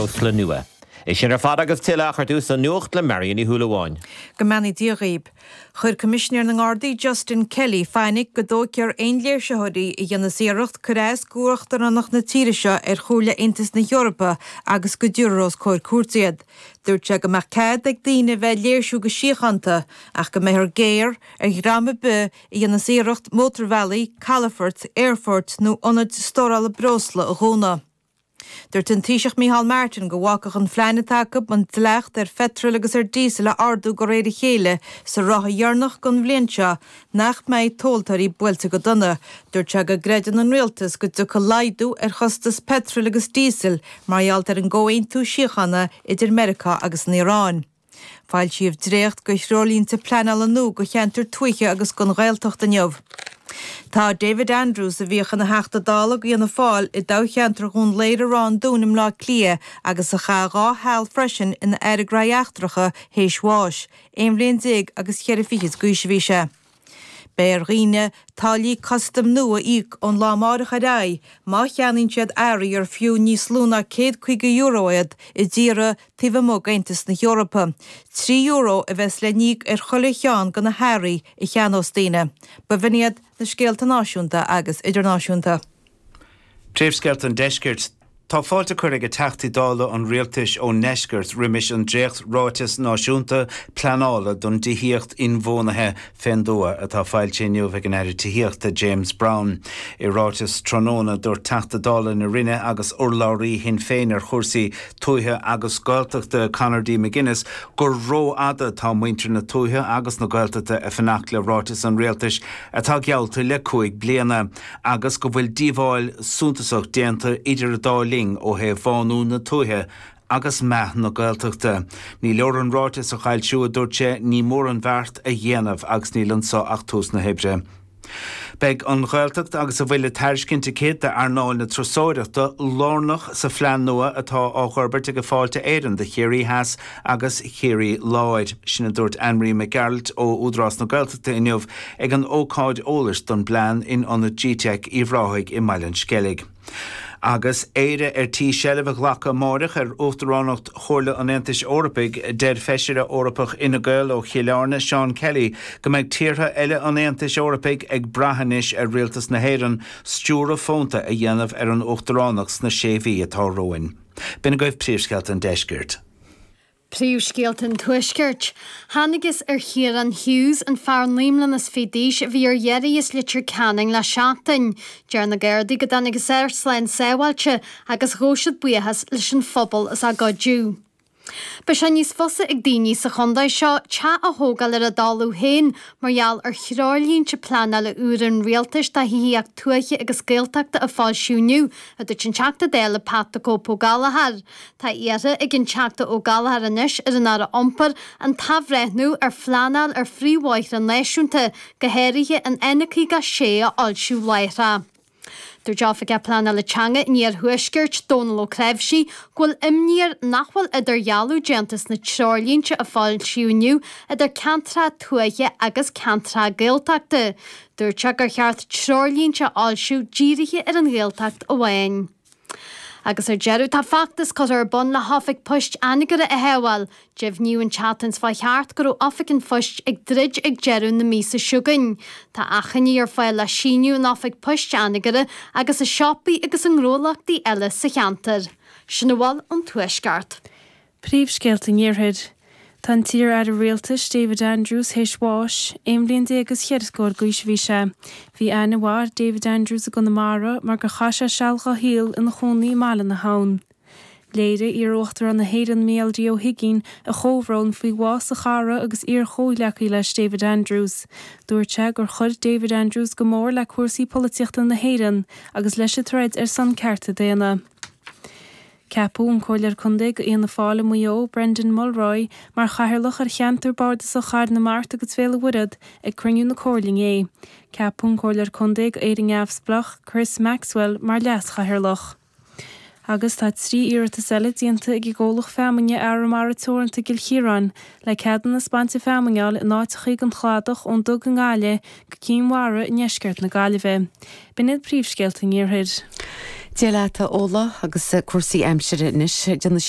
breosla nua. É sin ar fad agus tuilleadh ach ar dtús an nuacht le Marion Ní Shúilleabháin. Go mbeannaí Dia dhaoib. Chuir Coimisinéir na nGardaí Justin Kelly fainic go dtóigfear aon léirsitheoirí a dhéanfas iarracht cur as d'uachtaránacht na tíre seo ar Chomhairle Aontas na hEorpa agus go dtabharfar os comhair cúirte iad. Dúirt sé go mbeadh cead ag daoine a bheith ag léirsiú go síochánta ach go mbeifear géar ar dhream ar bith a dhéanfas iarracht mótarbhealaí, calafoirt, aerfoirt nó ionaid stórála breosla a dhúnadh. Dúirt an Taoiseach Micheál Martin go bhfágfadh an phlean atá acu an dleacht ar pheitreal agus ar díosal a ardú de réir a chéile sa ráithe dheireanach den bhliain seo nach mbeidh tomhaltóirí buailte go dona. Dúirt sé go gcreideann an rialtas go dtiocfaidh laghdú ar chostas peitril agus díosail mar gheall ar an gcomhaontú síochána idir Meiriceá agus an Iaráin. Foilsíodh dréacht de threoirlínte pleanála nua do cheantair tuaithe agus don Ghaeltacht inniu. Tá David Andrews, a bhíodh ina Theachta Dála do Fhianna Fáil i dtoghcheantar Dhún Laoghaire-Ráth an Dúin i mBleá Cliath agus a chaith dá sheal freisin ina Aire Gnóthaí Eachtracha, théis bháis. Aon bhliain déag agus cheithre fichid d'aois a bhí sé. Beidh ar dhaoine táillí custaim nua a íoc ón lá amáireach ar aghaidh má cheannaíonn siad earraí ar fiú níos lú ná €150 iad i dtíortha taobh amuigh d'Aontas na hEorpa. €3 a bheas le n-íoc ar chuile cheann de na hearraí a cheannós daoine. B'in iad na scéalta náisiúnta agus idirnáisiúnta. Príomhscéalta an Deiscirt. Tá fáilte curtha ag Teachtaí Dála an Rialtais ón nDeisceart roimis an dréacht-Ráiteas Náisiúnta Pleanála don dTithíocht Inbhuanaithe fén dTuath atá foilsithe inniu ag an Aire Tithíochta James Browne. I ráiteas tráthnóna dúirt Teachta Dála na Rinne agus urlabhraí Shinn Féin ar chúrsaí tuaithe agus Gaeltachta Conor D McGuinness gur rófhada atá muintir na tuaithe agus na Gaeltachta ag fanacht le ráiteas an Rialtais atá geallta le 5 bliana. agus go bhfuil díobháil suntasach déanta idir an dá linn ó thaobh bhánú na tuaithe agus meath na Gaeltachta. Ní leor an ráiteas a fhoilsiú, a dúirt sé, ní mór an bheart a dhéanamh agus níl anso ach tús na hoibre. Beidh an Ghaeltacht agus a bhfuil le tairiscint aici d'earnáil na turasóireachta lárnach sa phlean nua atá á fhorbairt ag Fáilte Éireann do Chiarraí Theas agus Chiarraí Láir. Sin a dúirt Anne-Marie Mac Gearailt ó Údarás na Gaeltachta inniu ag an ócáid eolais don bplean in Ionad Gteic Uíbh Ráthaigh i mBaile an Sceilg. Agus Éire ar tí seilbh a ghlacadh amáireach ar Uachtaránacht Chomhairle an Aontais Eorpaigh, deir Feisire Eorpach Fhine Gael ó Chill Airne, Seán Kelly, go mbeidh tíortha eile an Aontais Eorpaigh ag brath anois ar Rialtas na hÉireann stiúradh fónta a dhéanamh ar an Uachtaránacht sna sé mhí atá romhainn. B'in agaibh príomhscéalta an deiscirt. Príomhscéalta an Tuaiscirt. Thángthas ar Chiarán Hughes, an fear 29 mbliana d'aois a bhí ar iarraidh as Leitir Ceanainn le seachtain. Deir na Gardaí go dtángthas air slán sábháilte agus ghabh siad buíochas leis an phobal as a gcuidiú. Beidh sé níos fusa ag daoine sa chontae seo teach a thógáil ar a dtalamh féin mar gheall ar threoirlínte pleanála úra an rialtais do thithíocht tuaithe agus Gaeltachta a foilsíodh inniu, a dúirt an Teachta Dála Pat the Cope Ó Gallchóir. Tá iarrtha ag an Teachta Ó Gallchóir anois ar an Aire Iompair an t-athbhreithniú ar phleanáil ar phríomhbhóithre náisiúnta, go háirithe an N56 a fhoilsiú láithreach. Dúirt Oifigeach Pleanála Teanga an Iarthuaiscirt, Dónal Ó Cnáimhsí, go bhfuil imní air nach bhfuil idirdhealú déanta sna treoirlínte a foilsíodh inniu idir ceantracha tuaithe agus ceantracha Gaeltachta. Dúirt sé gur cheart treoirlínte a fhoilsiú dírithe ar an Ghaeltacht amháin. Agus ar deireadh, tá feachtas curtha ar bun le hOifig Poist Anagaire a shábháil. Deimhníodh an tseachtain seo chuaigh thart go raibh Oifig an Phoist ag druid ag deireadh na míosa seo chugainn. Tá achainí ar fáil le síniú in Oifig Poist Anagaire agus i siopaí agus i ngnólachtaí eile sa cheantar. Sin a bhfuil ón Tuaisceart. Príomhscéalta an Iarthair. Tá an t-iar-aire rialtais David Andrews théis bháis. Aon bhliain déag agus cheithre scór d'aois a bhí sé. Bhí aithne mhaith ar David Andrews i gConamara mar gur chaith sé seal dá shaol ina chónaí i mBaile na hAbhann. Léirigh iar-Uachtarán na hÉireann Mícheál D. Ó hUigínn a chomhbhrón faoi bhás a chara agus iar-chomhghleacaí leis David Andrews. Dúirt sé gur chuir David Andrews go mór le cúrsaí polaitíochta na hÉireann agus leis an troid ar son cearta daonna. Ceapadh an Comhairleoir Contae do Fhianna Fáil i Maigh Eo, Brendan Mulroy, mar Chathaoirleach ar Cheantar Bardasach Chathair na Mart agus Bhéal an Mhuirthead ag cruinniú na Comhairle inné. Ceapadh an Comhairleoir Contae do Éire Neamhspleách, Chris Maxwell, mar Leas-Chathaoirleach. Agus tá 3 iarratas eile déanta ag an gcomhlacht feamainne Arramara Teoranta i gCill Chiaráin le ceadúnas bainte feamainne a fháil in áiteachaí den chladach ón Dug i nGaillimh go Cinn Mhara i ndeisceart na Gaillimhe. B'in iad príomhscéalta an Iarthair. Dia leat, a Ola, agus cúrsaí aimsire anois. Déanfaidh.